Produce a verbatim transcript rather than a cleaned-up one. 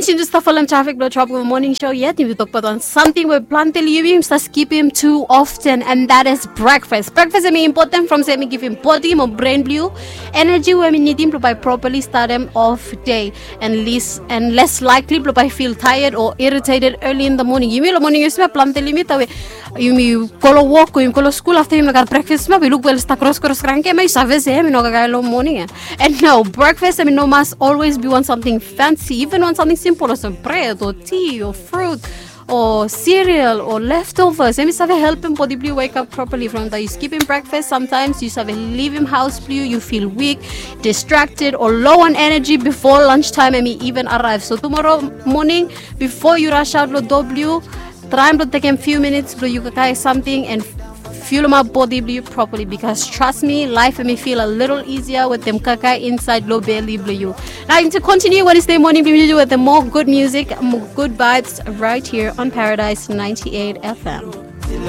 Since yu stap folem trafik blong Tropical Morning Show yet, yumi tokbaot wan samting we plante long yumi yumi stap skipim too often, and that is breakfast. Breakfast hemi important from se hemi givim bodi mo brain blong yu energy we hemi nidim blong bae properly startem off day, and less, and less likely blong bae feel tired or irritated early in the morning. Yumi long morning yu save plante long yumi tawe yumi go long wok o yumi go long skul afta yumi no gat breakfast ma be luk we oli stap kros kros kranke ma yu save se hemi no kakae long morning ya. And no, breakfast hemi no mas always be wan samting fancy, even wan samting simple olsem bred o ti o fruit o cereal o leftovers. Hemi save helpem bodi blong yu wake up properly. From that yu skipim breakfast, sometimes yu save livim haos blong yu, yu feel weak, distracted o low on energy before lunch time hemi even arrive. So tomorrow morning, before yu rush out long doa blong yu, traem blong tekem few minutes blong yu kakae samting and fuelemap bodi blong yu properly, because trust me, life hemi feel a little easier wetem kakae insaed long beli blong yu. Now, to continue Wednesday morning blong yu wetem more good music, more good vibes right here on Paradise ninety-eight F M.